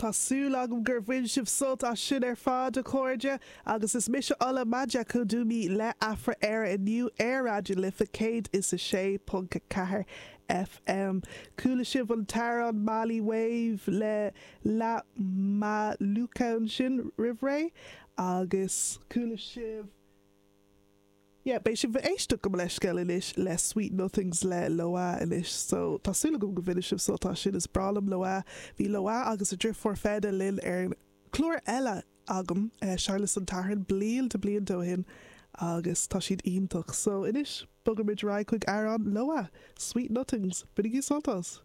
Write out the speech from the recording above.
Tá súil agam gur bhain sibh sult as sin ar fad, a chairde, agus is mise Ola Majekodunmi le Afra-Éire inniu ar Raidió na Life 106.4 FM. Chuala sibh an t-amhrán Mali Wave le La Maluka ansin roimh ré agus chuala sibh. Yeah, beidh sibh ag éisteacht gabh mo leithscéal anois le Sweet Nothings le Loah anois so tá súil agam go mbainfidh sibh sult as sin, is breá liom Loah. Bhí Loah agus a driofúr Feda linn ar an chlár eile agam, Searlas an tSathairn, blianta blianta ó shin agus tá siad iontach. So anois, bogfaimid ar aghaidh chuig amhrán Loah, Sweet Nothings. Bainigí sult as!